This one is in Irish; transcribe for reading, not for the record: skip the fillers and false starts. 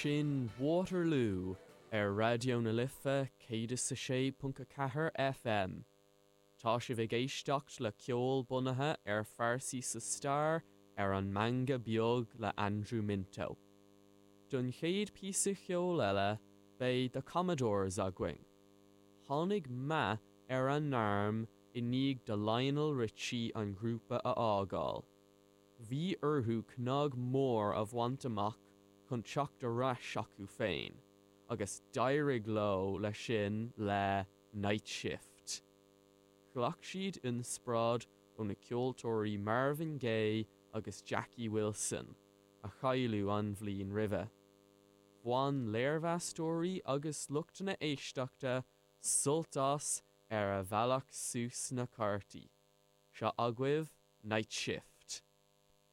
Sin Waterloo ar Raidió na Life 106.4 FM. Tá sibh ag éisteacht le ceol bunaithe ar phearsaí sa stair ar an Meangadh Beag le Andrew Minto. Don chéad píosa cheoil eile beidh The Commodores againn. Tháinig meath ar a ngairm i ndiaidh do Lionel Richie an grúpa a fhágáil. Bhí orthu cnag mór a bhaint amach chun teacht ar ais acu féin, agus d'éirigh leo leis sin le Night Shift. Ghlac siad inspioráid ó na ceoltóirí Marvin Gaye agus Jackie Wilson, a cailleadh an bhliain roimhe. Bhain léirmheastóirí agus lucht na éisteachta sult as ar a bhealach suas na cártaí. Seo agaibh Night Shift.